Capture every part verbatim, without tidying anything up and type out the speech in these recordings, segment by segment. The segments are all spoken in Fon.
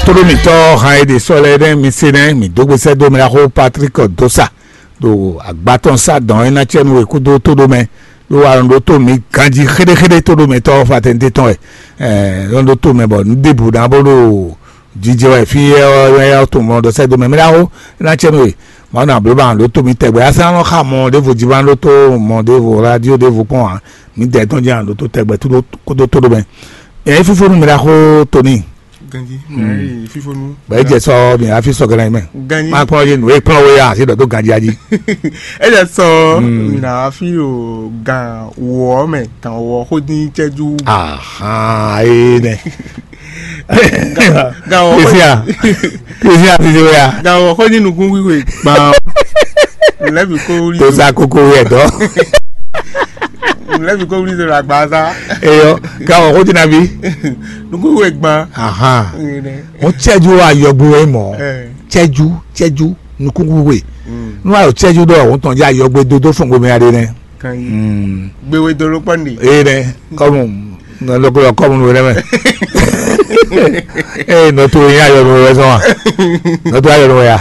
Tóɖó mǐtɔn han e ɖe sɔ́ lɛ́ɛ nɛ́ mi se nɛ́ mǐ dó gbe sɛ́ dó mɛ ɖaxó Patrick Dosa ɖo agbatɔn sá dɔn e ná cɛ nú we kúdó tóɖó mɛ ɖó wa ɖó tó mǐ ganjí xéɖéxéɖé tóɖó mɛ tɔ́ fatɛnité tɔn wɛ. Ɛɛ lɔn ɖó tó mɛ bɔ nǔ ɖěbǔ ná bó ɖo jijɛ wɛ fí ɛ ɔ́ ɛ ɔ́ to mɔ ɖɔ sɛ́ dó mɛ mɛ ɖaxó e ná cɛ nú we. Mɔ̌ nǎ bló ba ɖó tó mǐ tɛgbɛ asán nɔ xa mɔ ɖěvo jí ba ɖó tó mɔ ɖěvo radio ɖěvo kpɔn ǎ. Mǐ dɛ tɔn jí ɖó tó tɛgbɛ kúdó tóɖó mɛ. Ɛɛ fífó nú mɛ ɖaxó Tony. Ganji. Mm. Fífonu. Bɛ edze sɔ mi hafi sɔ gɛlɛ mɛ. Ganji. Ma kpɔn ye nu e kplɔn wo ya asi dɔ to ganji aji. Edze sɔ Mm. Mi na hafi o gan wɔ mɛ gan wɔ xo din cɛju. Ahan ee nɛ. Gan wɔ xo Isia. Isia ti se ya. Gan wɔ xo din nukun wiwe gban. Lɛbi ko wuli. To sa koko yɛ dɔ. Lɛbi ko wuli to la gba sa. Eyɔ gan wɔ xo din na bi. Nukun wiwe gban. Ahan. Ŋun cɛju ayɔgbe wɛ mɔ. Cɛju cɛju nukúnxwixwe. Nú ayɔ cɛju ɖɔ òun tɔn jẹ ayɔgbe dódó fún gbomɛ aɖe nɛ. Gbewe dolo kpɔn de. Eye nɛ kɔmu nɔlɔkulɔ kɔmu nù nɛ mɛ. Eye nɔtò yín ayɔnu wɛ sɔn wa. Nɔtò ayɔnu wɛ ya.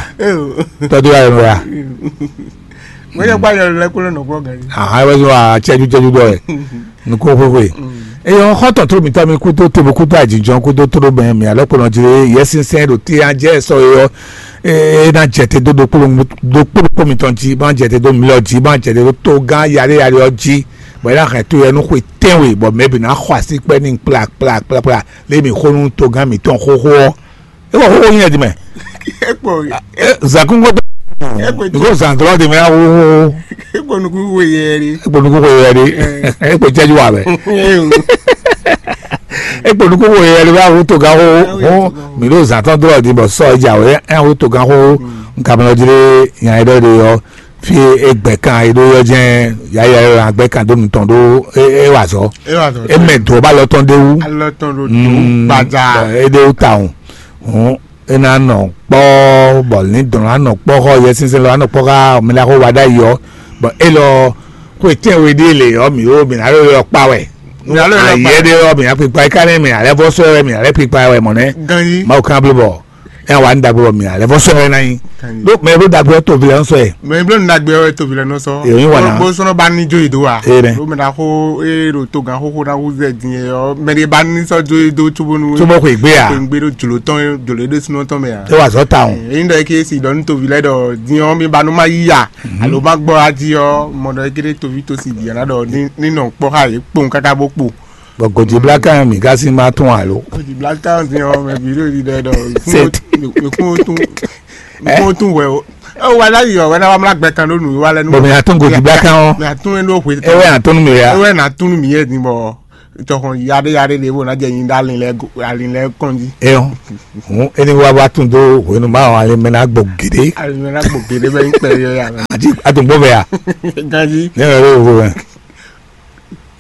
Tɔtò ayɔnu wɛ ya. Mɛ yɛ kpa yɔ lɛ kolo nɔ kɔ gari. Aha wɛ sɔn wa cɛju cɛju dɔ yɛ. Nukún xwéxwé. Eyɔ xɔ́ntɔn tó mǐtɔn mi kúdó tobo kúdó ajínjɔ́n kúdó tóɖó bɛn mǐ alɔkpɔnɔ jí lé Yɛsinsɛn ɖo té an jɛ sɔ é ɔ́, é ná jɛ te dó ɖokpó ɖokpó mǐtɔn jí, bó ná jɛ te dó mlɔ jí, bó ná jɛ te dó tógán yaɖé yaɖé ɔ́ jí, bɔ é ná hɛn to yɛ nú xwe tɛ́nwe, bɔ mɛ bǐ ná xɔ así kpɛ́ n'i kplakplakplakpla lé mǐ xó nú tógán mǐtɔn xóxó ɔ́. É wɔ xóxó nyɛ di mɛ. Ekpo. Zakúngó tó. Ekpo niko zantɔlɔ de mɛ awo. Ekpo nuku wo yɛ de. Ekpo nuku wo yɛ de. Ekpo cɛju wa bɛ. Ekpo nuku wo yɛ de bɛ awo to ga wo. Mi ɖo zantɔ dɔlɔ di bɔ sɔ ja wo. Awo to ga wo. Nkamɛ ɔdzi de nya yi ɖɔ de yɔ. Fi egbɛ kan yi ɖo yɔ jɛn yaya yɔ agbɛ kan do nutɔn ɖo e wa zɔ. Emɛ do ba lɔ tɔn de wu. Alɔ tɔn ɖo do gbadza. E de wu ta o. Hɔn é ná nɔ kpɔ́ bɔ ní dɔn ná nɔ kpɔ́ xɔ Yɛsinsɛn lɔ ná nɔ kpɔ́ xá mɛ ná xó wa ɖ'ayǐ ɔ́, bɔ é lɔ xó etɛ́n we ɖíe lě ɔ́ mǐ ó mǐ ná ló lɔ kpa wɛ. Mǐ ná ló lɔ kpa wɛ. Ayɛ ɖé ɔ́ mǐ ná kpikpa é ká nɛ́ mǐ ná lɛ́ vɔ́ sɔ́ wɛ mǐ ná lɛ́ kpikpa wɛ mɔ̌ nɛ́. Ganjí. Mawu kan bló bɔ é wá ní ɖagbe bɔ mǐ ná lɛ́ vɔ́ sɔ́ wɛ ná nyí. Ganjí. Ɖó mɛ e bló ɖagbe ɔ́ toví lɛ́ nɔ sɔ ɛ. Mɛ e bló ní ɖagbe ɔ́ wɛ toví lɛ́ nɔ sɔ. Èyí wá ná. Bó sɔ́ nɔ ba ní jó yě dó wa. Ee nɛ. Ɖó mɛ ná xó é ɖo tó gǎn xóxó ná hú zɛ din é ɔ́ mɛ ɖé ba ní sɔ́ jó yě dó cóbónú. Cóbó xwe gbé a? Xwe gbé ɖó jlǒ tɔn jlǒ é ɖésúnɔ tɔn mɛ a? É wa zɔ ta o. Èyí ɖɔ é ké si ɖɔ ní toví lɛ́ɛ ɖɔ din ɔ́ mi ba nú má yí ya. Alo má gbɔ ají ɔ́ mɔ ɖɔ é ké ɖé toví tó si bǐ ɔ́ ná ɖɔ ní nɔ kpɔ́ xá yě kpowun káká bó kpo. Bɔ gɔjibla kan mi gasi ma tún alo. Gɔjibla kan din ɔ́ mɛ bǐ ɖo ɖi ɖɛ ɖɔ. Set. Mekún tún mekún tún wɛ o. Ɛ wa la yi ɔ wɛ na wa mla gbɛ kan ɖo nǔ wa lɛ nu. Bɔn mi atún gɔjibla kan ɔ. Mi atún yẹn ɖo hwe. Ewɛ atún mi ya. Ewɛ na tún mi yɛ din bɔ. Tɔxɔn yaɖe yaɖe ɖe bo na jɛ nyi ɖe alin lɛ alin lɛ kɔn jí. Eyɔn. Hɔn eni wa wa tún do hwenu ma ɔ alin mɛ na gbɔ gèɖe. Alin mɛ na gbɔ gèɖe bɛ nyi kpɛ yɔ ya. Ati atungbɔ bɛ ya. Ganji. Ne yɛrɛ yɔ vo mɛ.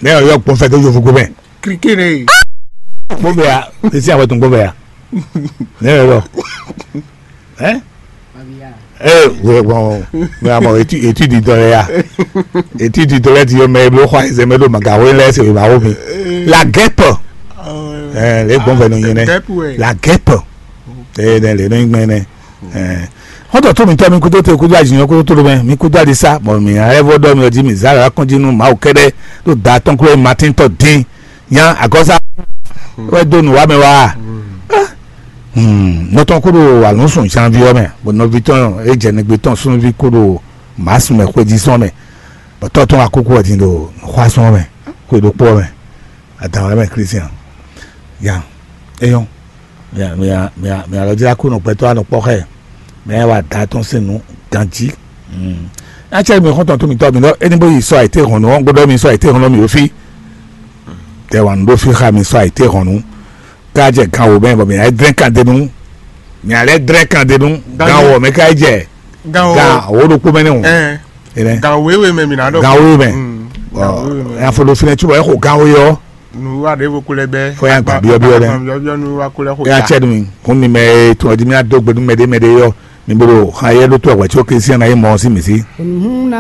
Ne yɛrɛ yɔ gbɔn fɛ to yovo go mɛ. Krike ne. Gbɔn bɛ ya. Esi awɛ tun gbɔn bɛ ya. Ne yɛrɛ yɔ. Ɛ. Ee wɛ gbɔn mɛ amɔ etí etí didɔ lɛ ya. Etí didɔ lɛ ti yɔ mɛ eblo xɔ ayizɛ mɛ ɖo magawo lɛ se wema wo mi. La guêpe. Ɛ lɛ gbɔn fɛ no nyi nɛ. La guêpe. Ee nɛ lɛ no nyi gbɛn nɛ. Ɛ xɔtɔ tó mi tɔ mi kudo te kudo azinyɔ kudo tó mɛ mi kudo adisa bɔn mi ayɛvɔ dɔ mi ɔdi mi zara kɔnji nu mawu kɛdɛ ɖo da tɔn klo matin tɔ din. Nya agɔza wɛ do nǔ wa mɛ wa. Nɔ tɔn kó ɖo alɔ̌nsun janvier ɔ́ mɛ, bɔ nɔví tɔn e jɛ nɛgbé tɔn súnnuví kó ɖo mǎsu mɛ xwéjínzɔ́n mɛ, bɔ tɔ́ tɔn wá kúkú wɛ din ɖo xwásún ɔ́ mɛ, xwe ɖokpó ɔ́ mɛ, adǎn wɛ mɛ Klísián. Ya, é nyɔ́. Mia mia mia mia lɔ jlá kú nɔ gbɛtɔ́ anɔ kpɔ́ xá ɛ. Mɛ wa da tɔn sín nǔ ganjí. Acɛ mi xɔntɔn tó mi tɔ mi lɔ eni bó yi sɔ àyíté hɔn nù ɔn gbɔdɔ mi sɔ àyíté hɔn nù mi wò fi. Tɛ wà nù ɖó fi xa mi sɔ àyíté hɔn nù. Ká jɛ gan wò mɛ bɔ mi yà drɛn kan dé nu. Mi yà lɛ drɛn kan dé nu. Gan wò mɛ ká jɛ. Gan wò ɖokpó mɛ nɛ o. Gan wéwé mɛ mi nà dɔ. Gan wéwé mɛ. Ɔ yà fɔ ɖo finɛ tubɔ ɛ xɔ gan wé yɔ. Nuwa ɖe bo kulɛ bɛ. Fɔ ya gba biɔ biɔ lɛ. Biɔ biɔ nuwa kulɛ xo. Ya cɛ dumi. Kun ni mɛ tun ɔdi mi ado gbɛdu mɛ de mɛ de yɔ. Mi bolo xan yɛ ɖo to agba tso ke sian na ye mɔ si mi si.